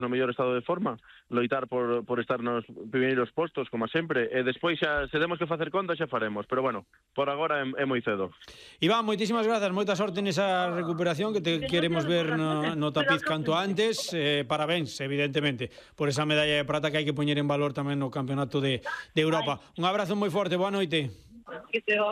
no mellor estado de forma, loitar por estar nos primeiros postos, como sempre, e despois xa, se temos que facer conta, xa faremos, pero bueno, por agora é moi cedo. Iván, moitísimas grazas, moita sorte nesa recuperación que te queremos ver no tapiz canto antes. Parabéns, evidentemente, por esa medalla de prata que hai que poñer en valor tamén no Campeonato de Europa. Un abrazo moi forte, boa noite.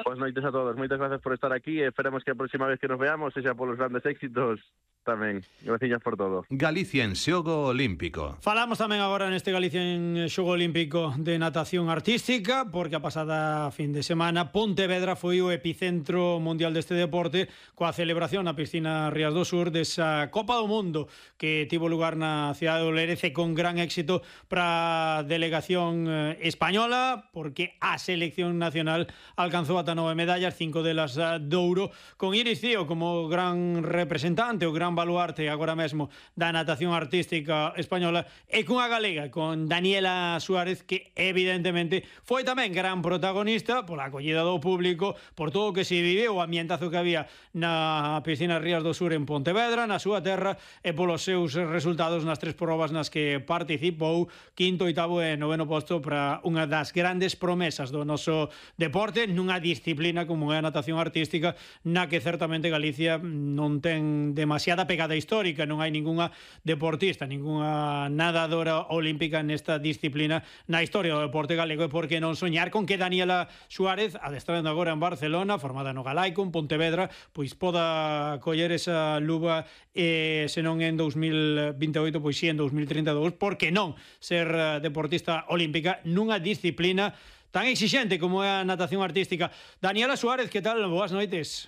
Boas noites a todos, moitas gracias por estar aquí e esperemos que a próxima vez que nos veamos sexa polos grandes éxitos tamén. Gracias por todo. Galicia en xogo olímpico. Falamos tamén agora neste Galicia en xogo olímpico de natación artística, porque a pasada fin de semana Pontevedra foi o epicentro mundial deste deporte coa celebración na piscina Rías do Sur desa Copa do Mundo que tivo lugar na cidade de Olerece con gran éxito para a delegación española, porque a selección nacional alcanzou ata 9 medallas, 5 delas de ouro, con Iris Cío como gran representante, o gran baluarte agora mesmo da natación artística española, e cunha galega, con Daniela Suárez, que evidentemente foi tamén gran protagonista pola acollida do público, por todo o que se viveu, o ambientazo que había na piscina Rías do Sur en Pontevedra, na súa terra, e polos seus resultados nas 3 probas nas que participou, quinto, oitavo e noveno posto para unha das grandes promesas do noso deporte, nunha disciplina como é a natación artística, na que certamente Galicia non ten demasiada pegada histórica, non hai ningunha deportista, ningunha nadadora olímpica nesta disciplina na historia do deporte galego, e por que non soñar con que Daniela Suárez, adestrando agora en Barcelona, formada no Galaico, en Pontevedra, pois poda coller esa luva, se non en 2028, pois si en 2032, por que non ser deportista olímpica nunha disciplina tan exixente como é a natación artística. Daniela Suárez, que tal? Boas noites.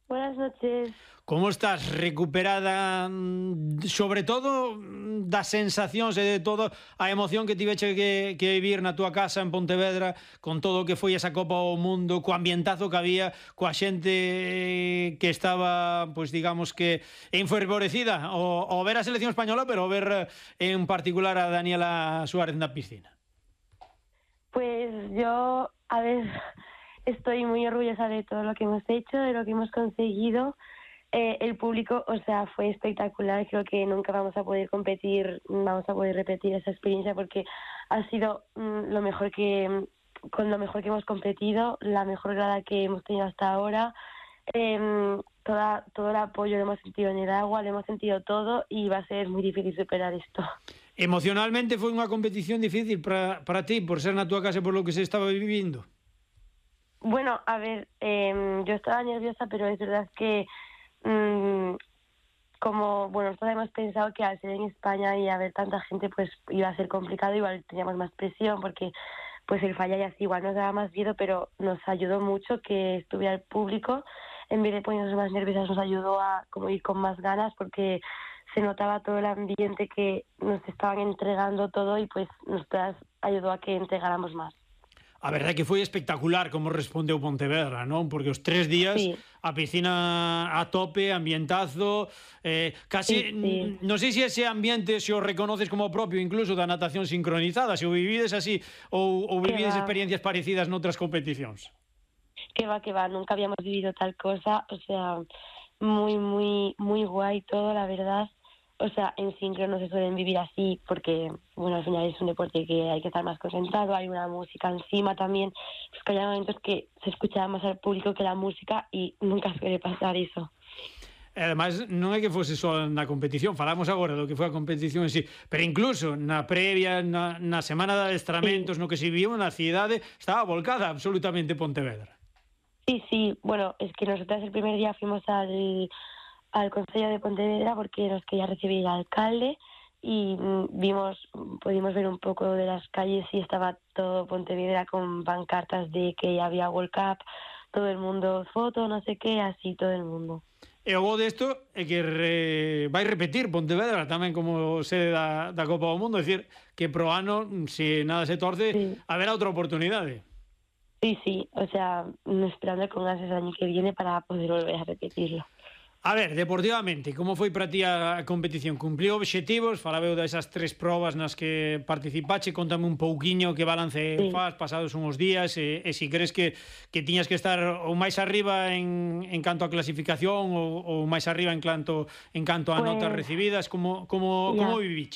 Buenas noches. Como estás? Recuperada, sobre todo das sensacións e de todo a emoción que tiveche que vivir na túa casa en Pontevedra, con todo o que foi esa Copa ao Mundo, co ambientazo que había, coa xente que estaba, pois digamos que enfervorecida ao ver a selección española, pero ao ver en particular a Daniela Suárez na piscina. Pues yo, a ver, estoy muy orgullosa de todo lo que hemos hecho, de lo que hemos conseguido. El público, o sea, fue espectacular. Creo que nunca vamos a poder competir, vamos a poder repetir esa experiencia, porque ha sido con lo mejor que hemos competido, la mejor grada que hemos tenido hasta ahora. Todo el apoyo lo hemos sentido en el agua, lo hemos sentido todo, y va a ser muy difícil superar esto. Emocionalmente foi unha competición difícil para ti, por ser na túa casa e por lo que se estaba vivindo? Bueno, a ver, yo estaba nerviosa, pero es verdad que como, bueno, nosotros hemos pensado que al ser en España y haber tanta gente, pues iba a ser complicado, igual teníamos más presión, porque pues el fallar y así igual nos daba más miedo, pero nos ayudó mucho que estuviera el público. En vez de ponernos más nerviosas, nos ayudó a como ir con más ganas, porque se notaba todo el ambiente que nos estaban entregando todo, y pues nos ayudó a que entregáramos más. A verdade é que foi espectacular como respondeu Pontevedra, non? Porque os 3 días, sí, a piscina a tope, ambientazo, casi, sí. Non sei se ese ambiente se o reconoces como propio incluso da natación sincronizada, se o vivides así ou vivides experiencias parecidas noutras competicións. Que va, nunca habíamos vivido tal cosa, o sea, muy, muy, muy guay todo, la verdad. O sea, en sincro no se suelen vivir así porque, bueno, al final es un deporte que hay que estar más concentrado, hay una música encima también, pues que hay momentos que se escucha más al público que la música, y nunca suele pasar eso. Ademais, non é que fose só na competición, falamos agora do que foi a competición en sí, pero incluso na previa, na semana de adestramentos, sí, no que se viviu na cidade, estaba volcada absolutamente Pontevedra. Sí, bueno, es que nosotras el primer día fuimos al Concello de Pontevedra porque nos quería recibir el alcalde, y pudimos ver un poco de las calles, y estaba todo Pontevedra con pancartas de que había World Cup, todo el mundo foto, no sé qué, así todo el mundo. E o bo desto é que vai repetir Pontevedra tamén como sede da Copa do Mundo, é dicir, que pro ano, se nada se torce, sí, haberá outra oportunidade. Sí, o sea, esperando con ganas el año que viene para poder volver a repetirlo. A ver, deportivamente, como foi para ti a competición? Cumpliu obxectivos? Falabeu desas 3 probas nas que participache, contame un pouquiño que balance faz pasados uns días, e se crees que tiñas que estar ou máis arriba en canto a clasificación ou máis arriba en canto a notas recibidas, como viviches?